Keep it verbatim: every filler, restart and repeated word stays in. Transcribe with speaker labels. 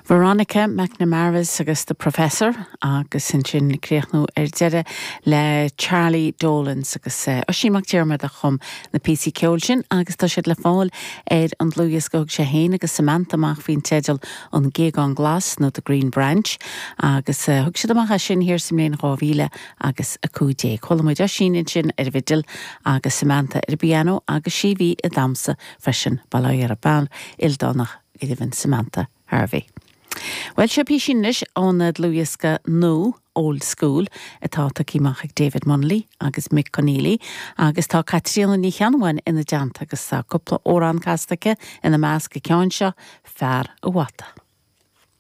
Speaker 1: Veronica McNamara's agus the Professor agus ansin críochnú ar deireadh le Charlie Dolans agus uh, Oisín Mac Diarmada a chum na píosaí ceoil sin agus tá siad le fáil ar an dlúthdhiosca thug sé féin agus Samantha amach faoin teideal an Géagán Glas nó the Green Branch agus uh, thug siad amach é sin thiar sa mbliain dhá mhíle agus a cúig déag. Chuala muid Oisín ansin ar bhfidil agus Samantha ar piano agus sí bhí i damsa freisin bail ar a bean ildánach go Samantha Harvey. Well seo píosa anois ón dlúthdhiosca nua Old School atá tugtha amach ag David Munnelly agus Mick Conneely agus tá Caitríona Ní Cheannabháin ina dteannta agus tá cúpla amhrán casta aici ina measc ceann seo fear a bhata.